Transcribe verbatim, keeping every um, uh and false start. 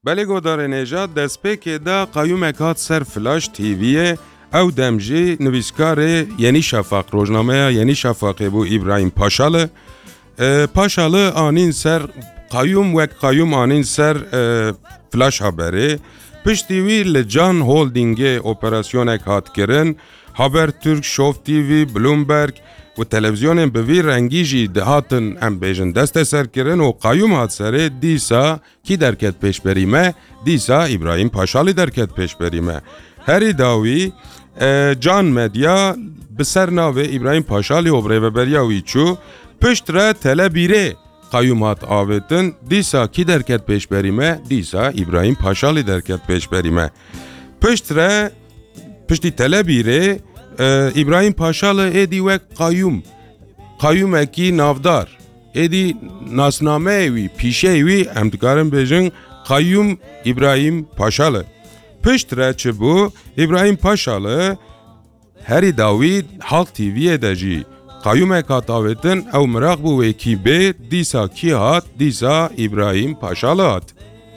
Belê godarê nêja, destpêkê de qayûmek hat ser Flash T V'yê, ew dem jî nivîskarê Yenî Şafak, rojnameya Yenî Şafakê bû, Îbrahîm Paşalı. E, Paşalı anîn ser qayûm, wek qayûm anîn ser, e, Flash Haberê. Piştî wî li Can Holdingê operasyonek hat kirin. Habertürk, Show T V, Bloomberg û televîzyonên bi vî rengî jî dihatin, em bêjin, desteserkirin û qayûm hat serê, dîsa kî derket pêşberî me? Dîsa Îbrahîm Paşalî derket pêşberî me. Herî dawî, e, Can Medya bi ser navê Îbrahîm Paşalî û bi rêveberiya wî çû, pişt re Telebîrê qayûm hat avêtin, dîsa kî derket pêşberî me? Dîsa Îbrahîm Paşalî derket pêşberî me. Pişt re, piştî Telebîrê, e, Îbrahîm Paşalî êdî wek qayûm, qayûmekî navdar, êdî nasnameyê wî, pîşeyê wî, em dikarin bêjin qayûm Îbrahîm Paşalî. Pişt re çi bû? Îbrahîm Paşalî herî dawî Halk T V'yê de jî qayûmek hat avêtin, ew miraq bû wê kî bê, dîsa kî hat? Dîsa Îbrahîm Paşalî hat.